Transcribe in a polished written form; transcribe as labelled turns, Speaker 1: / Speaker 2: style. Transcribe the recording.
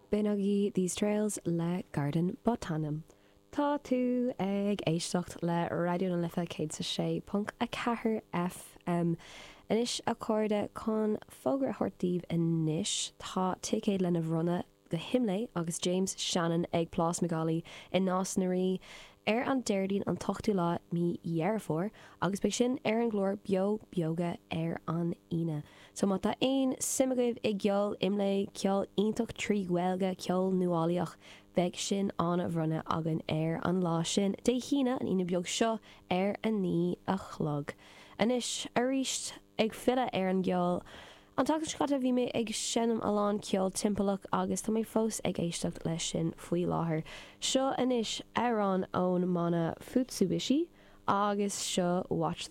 Speaker 1: B'in agaibh These Trails le Garden Botanim. Tá tú ag éisteacht le Raidió na Life 106.4 FM. Anois, a chairde, chun fógra a thabhairt daoibh anois, tá ticéid lena bhronnadh go hImlé agus James Shannon ag Plás McAuley i Nás na Rí ar an Déardaoin an t-ochtú lá mí Dheireadh Fómhair agus beidh sin ar an gclár Beo Beoga ar an Aoine. So má tá aon suim agaibh i gceol Imlé, ceol iontach trí Ghaeilge, ceol nuálaíoch, beidh sin á bhronnadh againn ar an lá sin, Dé hAoine, an Aoine beag seo, ar a 9 a chlog. Anois, arís, ag filleadh ar an gceol, an tseachtain seo caite bhí mé ag seinm a lán ceol timpeallach agus tá mé fós ag éisteacht leis sin faoi láthair. Seo anois amhrán ón mbanna Futsubishi agus seo Watch.